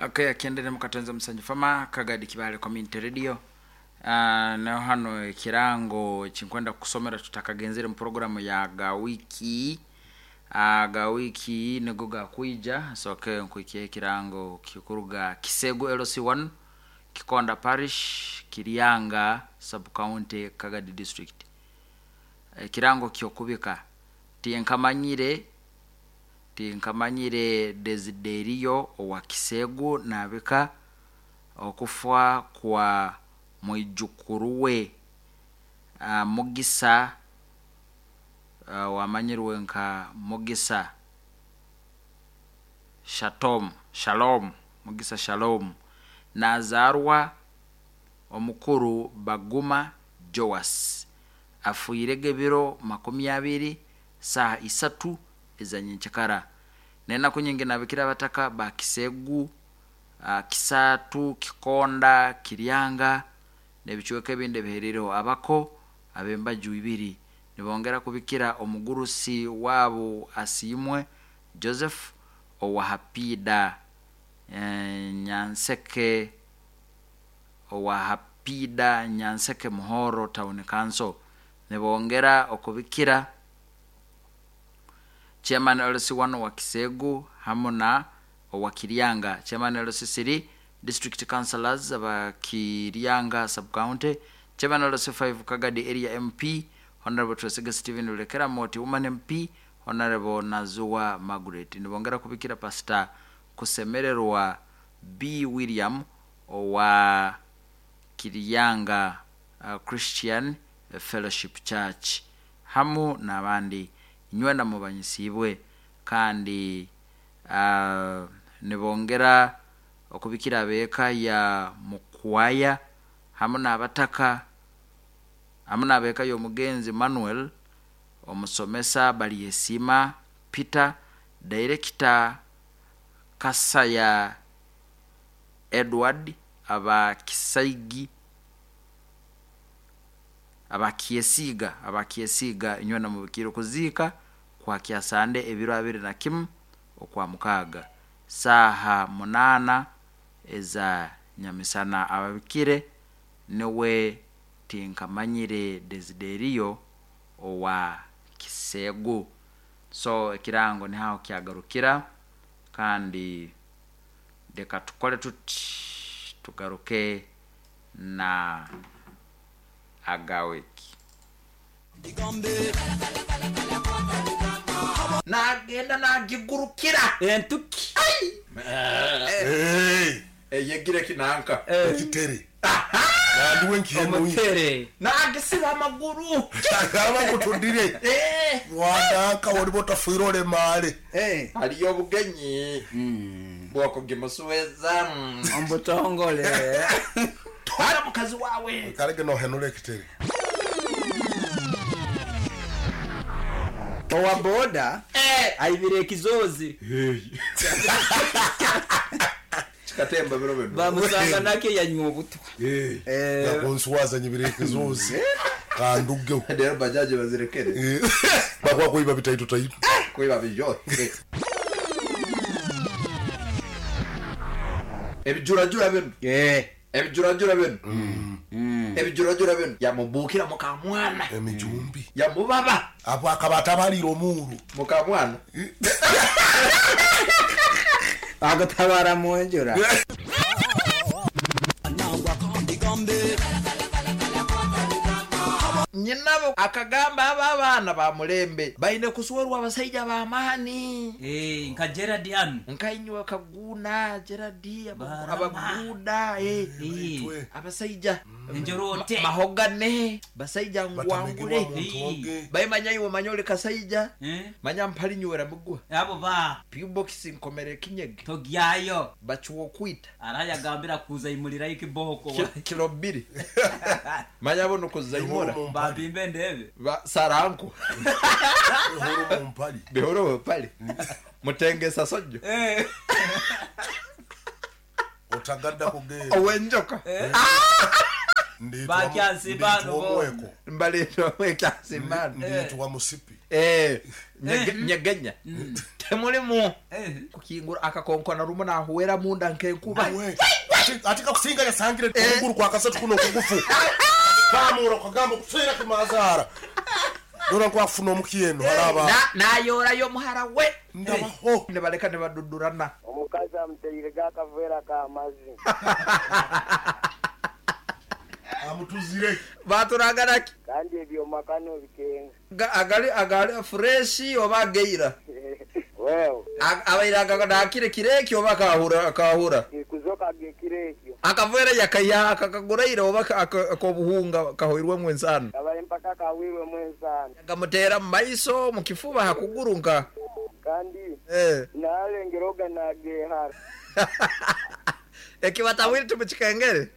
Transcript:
Okay, akiendere mukatonza Musanju Fama Kagadi Kibale Community Radio. Naho hano ekirango ekinkwenda kukusomera tutakagenzere mu programu ya gawiki. Gawiki nigo gakwija nsoke nkuhikyeho ekirango kikuruga Kisegu LC1 Kikonda Parish Kiryanga Sub County Kagadi District. Ekirango kyokubika tinkamanyire Tinkamanyire Deziderio owa Kisegu nabika okufa kwa mwijukuru we Mugisa owamanyirwe nka Mugisa Shatom, Shalom, Mugisa Shalom, nazaarwa omukuru Baguma Joas. Afiirege ebiro 20 saaha isatu eza nyenkyakara. N'enaku nyingi nabikira abataka ba Kisegu, Kisaatu, Kikonda, Kiryanga n'ebicweka ebindi ebihereireho abako ab'embaju ibiri nibongera kubikira omugurusi waabo Asiimwe Joseph owa Hapiida Nyanseke owa Hapiida Nyanseke Muhoro Town Council. Nibongera okubikira Chairman LC1 owa Kisegu hamu na owa Kiryanga, Chairman LC3 District Councillors aba Kiryanga Sub-County, Chairman LC5 Kagadi Area MP, Honourable Twesige Stephen Rulekera Moti Woman MP, Honourable Nazuwa Margaret. Nibongera kubikira Pastor Kusemererwa B. William owa Kiryanga Christian Fellowship Church hamu n'abandi. Inywena mubanyisiibwe kandi nibongera okubikira ab'eka ya Mukwaya hamu n'abataka hamu n'ab'eka y'omugenzi Manuel omusomesa Balyesiima Peter, Dayirekita Kasaya Edward aba Kisaigi Aba Kyesiiga, aba Kyesiiga inywena mubikiire okuziika kwa Kyasande ebiro 21 Okwamukaaga, saaha munaana eza nyamisana. Ababikire niwe Tinkamanyire Deziderio owa Kisegu. So ekirango niho aho kyagarukira kandi leka tukole tuti tugaruke na Agawiki. Naagenda naagigurukira. Entuki. Eyegire kinanka. Ekitere. Nandi we nkihenuye. Omutere. Naagisiba amaguru. Agamba ngu tudire. Wananka oriba otafiire oremaare. Hariyo obugenyi bw'okugimusueza. Omu butongore. Twara mukazi waawe. Karege nohenura ekitere. Owa boda aibire ekizoozi. Kikatemba biro binu. Bamusanga nakyo yanywa obutwa. Nakunswaza nyibire ekizoozi kandugeho. Reero bajaji bazirekere. Bakuba kwiba bitaito taito. Kwiba bijohe. Ebijurajura binu. Ebijurajura binu. Ebijurajura binu. Yamubuukira mukamwana. Emijumbi. Yamubaba. Apo akaba atabariire omuuru. Mukamwana. Bakutabara munjura. Nyinabo akagamba abo abaana ba mulembe baine kuswerwa abasaija b'amaani. Eh, nka Gerard hanu. Nkainywe Kaguuna, Gerard, Barama. abaguuda, eh, Eh, abasaija Enjorote. mahogane, basaija ngwangure. Batamegibwa muntu oge. Baimanya iwe manya ori kasaija, Eh, manya mpari nywera migwa. abo ba P-box nkomere ekinyege. togyayo. Bakiwa okwita. Arayagambira kuza imurirayo ekiboko. Kilo bbiri. Manya bo nukuzaimura. Bihuru mu mpari. Bampimbe ndebe. Ba saranku. Bihuru mu mpari. Bihuru mu mpari. Mutengesa sojjo. Eh. Otagadda kugenda. Owenjoka. Nditwa Bakyansimba nditwa bo. omweko. Mbaleetwa omwekyansimba. Nditwa musipi. Eh, nyegenya temulimu kukingura akakonkona rumu nahuwera munda nkenkuba. We, ati kakusinga yasangire okuguru kwa kasatu kuno okugufu pamura okagamba okuseera kimazaara dora nkwafuna omukyeno haraba. Nayorayo omuhara we. Ndabaho. Nibaleka nibadudurana. Omukazi amuteire akaveera k'amazzi. Amutuzire. Baturaganaki. Kandi ebyoma kano bikenga. Agali fureshi oba ageira? Wewe. Abaire nakire kireki oba kahura kahura? Kuzoka gekiro ekyo. Akaveera yakaya akakaguraire oba akobuhunga kahoirwemu ensano? Kabaye mpaka kawirwemu ensano. Gamuteera mu maiso, mu kifuba, hakuguru nka? Kandi nalengera oga nagehara. Ekibatawiri tumukikengere.